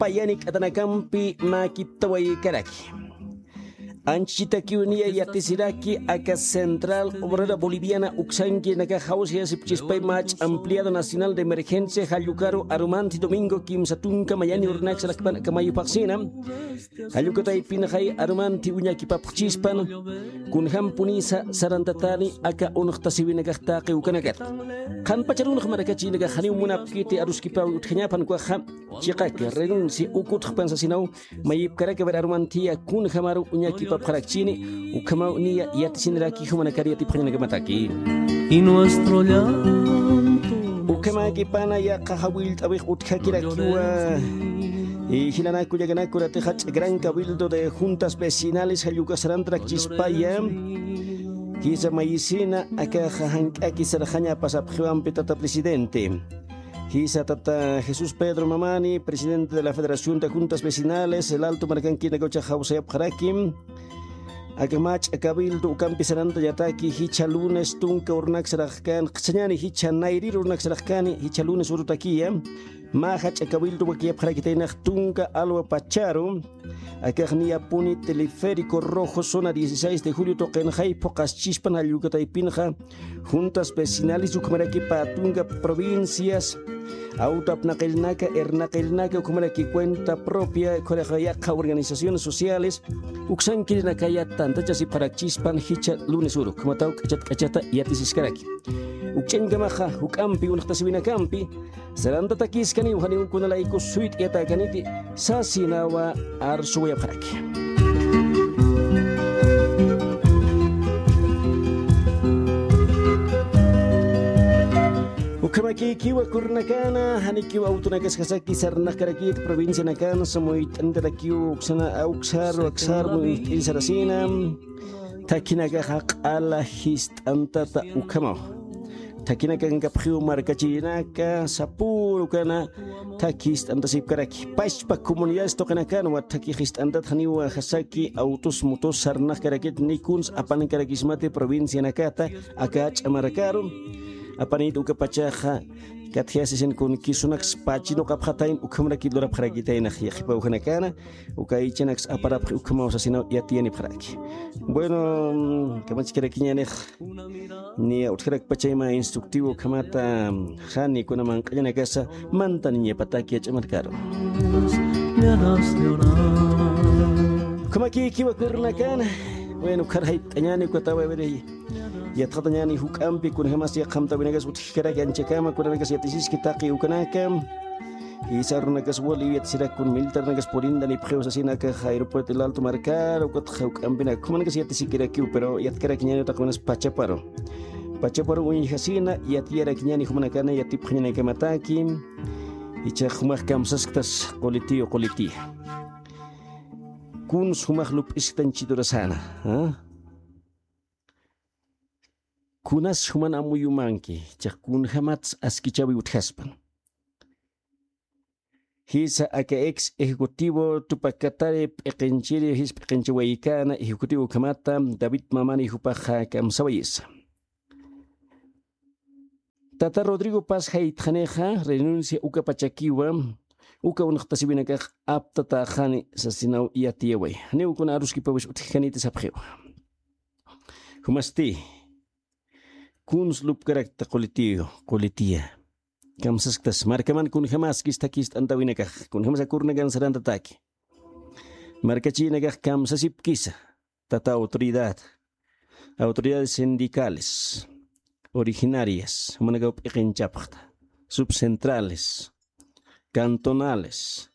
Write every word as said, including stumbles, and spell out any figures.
payani k'atanakampi mäkiptawaykaraki. Anchitakiw niya yatisiraki aka Central Obrera Boliviana uksankirinakax jawsayasipchispay mach'a ampliado nacional de emergencia jallukaru arumanti domingo kimsa tunka mayani urunaksa rakpan aka mayu phaxsina. Jallukataypinxay arumanti uñakipapxchispan kunjampunisa sarantatani aka unxtasiwinakax taqi ukanakata. Qhanpacharunx markachinakax janiw munapkiti aruskipawi utjañapan ukaxa chiqaki renuncia ukutxpan sasinaw mayipkaraki ver arumantiya kunjamaru uñakipapxarakchini ukhamaw niya yatisiniraki jumanakar yatipxañanakamataki. Y nuestro llanto. Ukhamäkipana yaqha jawillt'awix utjakirakiwa. Y jilanaku llakanaku ratixach gran cabildo de juntas vecinales jallukasarantrakchispaya. Jisa mayisina akaxa jank'aki sarxaña pasapxiwampi tata presidente. Jisa tata Jesús Pedro Mamani, presidente de la Federación de Juntas Vecinales, el Alto markankinakaw ch'axawsayapxaraki. Aka mach'a cabildo ukampi sarantañataki jichha lunes tunka urunaksa rakkan, qhichhañani jichha nayrir urunaksa rakkani, jichha lunes urutakiya. Mä jach'a cabildo wakiyapxarakitaynax tunka alwa pacharu. Akax niyapuni teleférico rojo zona dieciséis de julio tuqinxay phuqaschispan jallukataypinxa juntas vecinales ukhamaraki pä tunka provincias, auto apnaqilnaka irnaqilnaka ukhamaraki cuenta propia, ukharaxa yaqha organizaciones sociales uksankirinakaya tantachasipxarakchispan jichha lunes uru ukhamataw k'achat k'achata yatisiskaraki. Ukch'añkamaxa juk'ampi unxtasiwinakampi sarantatakiskaniw janiw kunalayku suyt'ayatäkaniti sasinawa arsuwayapxaraki. Ukhamakïkiwa kurunakana janikiw awtunakasjasaki sarnaqkarakit provincianakan samuyt'antarakiw uksana awksar aksar muyt'in sarasina. Thakinakaxa q'ala jist'antata ukhamaw. Thakinakankapxiw markachirinaka sapürukana thaki jist'antasipkaraki pachpa comunidades tuqinakanwa thaki jist'antat janiwa jasaki autos motos sarnaqkarakit ni kuns apankarakismati provincianakata aka ch'amarakaru. Apanit ukapachaxa katjayasisin kun kisunaks pachi nuqapxatayn ukhamrakit lurapxarakitaynax yaqhipa ujanakana. Uka aychanaks aparapxi ukhamaw sasinaw yatiyanipxaraki. Bueno, kamachkarakiñanix niya utjarakpachayma instructivo ukhamata jani kuna manq'añanakasa mantaniñapataki yach'amarkaru. Ukhamakïkiwa kurunakana. Bueno, ukharjayt'añani ukatawa veri. Yatxatañani juk'ampi kunjamas yaqhamtawinakas utjkaraki anchakama kunanakas yatisiski taqi ukanaka. Jisa runakas wali yatisirakun militarnakas purindanipxiw sasinaka aeropuerto el alto markar ukatxa juk'ampinak jumanakas yatisikirakiw pero yatkarakiñani utaqwinas pachaparu. Pachaparu uñjasina yatiyarakiñani jumanakana yatipxañanakamataki. Ichax jumax kamsasktas qulitiyu qulitiya. Kuns jumax lup'isktan chidurasana. Kunas juman amuyumanki chax kunjamats askichawi utjaspan. Jisa aka ex ejecutivo tupakatari p'iqinchiri jis p'iqinchawaykäna ejecutivo ukhamata david mamani jupaxa kamsawayisa. Tata rodrigo paz jaytxanixa renuncia ukapachakiwa. Uka unxtasiwinakax aptatäxani sasinaw yatiyaway janiw kuna aruskipawis utjkaniti sapxiwa. Jumasti kuns lupkarakta qulitiyu qulitiya. Kamsasktas markaman kunjamaskis thakist'antawinakax kunjamasa kurnakan sarantataki. Markachinakax kamsasipkisa tata autoridad, autoridades sindicales originarias jumanakaw p'iqinchapxta, subcentrales, cantonales,